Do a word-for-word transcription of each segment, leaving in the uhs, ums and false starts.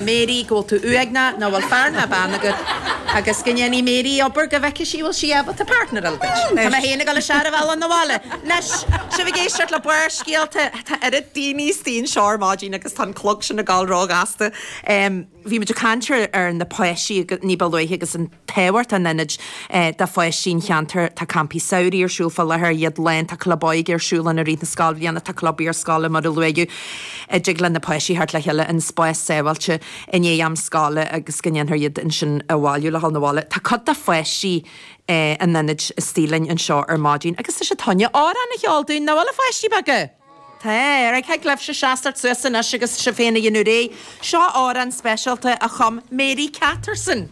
Mary go bhfuil tú uaigneach nach bhfuil fear ná bean agat agus go ndéanfaidh Mary obair go bhfeicfidh sí bhfuil sí ábalta partner a fháil. Tá mé féin ag dul isteach ar an bhealach na bhaile. Anois sibh ag éisteacht le Barrscéalta tá oiread daoine istigh anseo ar maidin agus tá an clog sin ag gabháil róghasta. Um, Bhí muid ag caint ar na páistí ní ba luaithe agus an tábhacht an ionaid eh, do pháistí an cheantair tá campaí samhraidh ar siúl fá láthair iad lán tá club óige ar siúl i rith na scoilbhliana tá club iarscoile mar a luaigh a dtig le na páistí theacht le chéile in spás sábháilte i ndiaidh am scoile agus go ndéanfar iad ansin a bhailiú le hal na bhaile. Tá cuid de pháistí eh, an ionaid istigh linn anseo ar maidin agus tá siad chun amhrán a cheol dúinn nach bhfuil a pháistí beaga. Tá ar ag leibh se seastart suas anois agus sibh féin a dhéanamh réidh. Seo amhrán speisialta a chum Mary Catterson.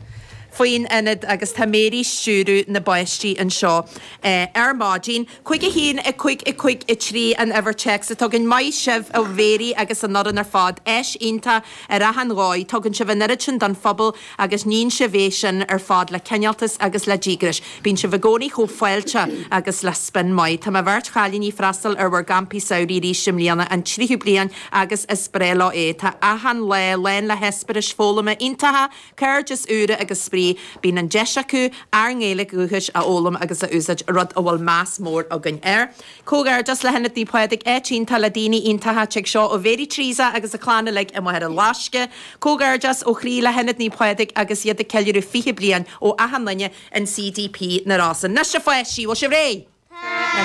Faoin ionad agus tá Mary ag stiúradh na bpáistí anseo eh, ar maidin. Cúig a haon a cúig a cúig a trí an uimhir téacs a tugann maith sibh a Mhéirí agus an fhoireann ar fad áis iontach ar achan dhóigh, tugann sibh an oiread sin don phobal agus níonn sibh é sin ar fad le cineáltas agus le díograis. Bíonn sibh i gcónaí chomh fáilteach agus le spion maith. Tá mo bheirt chailíní ag freastal ar bhur gcampaí samhraidh arís i mbliana an tríú bliain agus is breá leo é. Tá achan lá lán le heispéiris foghlama iontacha, cairdeas úr agus spraoi, bíonn an deis acu ár nGaeilge dhúchais a fhoghlaim agus a úsáid rud a bhfuil meas mór againn air. Comhghairdeas le hIonad Naomh Pádraig áit iontach le daoine iontacha tig seo ó Mhéirí Tríosa agus a clann uilig i Machaire Loisce. Comhghairdeas ó chroí le hIonad Naomh Pádraig agus iad ag ceiliúradh fiche bliain ó achan duine in CDP na Rosann. Anois a pháistí bhfuil sibh réidh?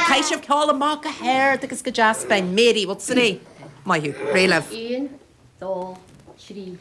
Caithfidh sibh ceol amach go hard agus go deas binn. Mary, bhfuil réidh? Maith thú, réidh libh. Un, dó, trí.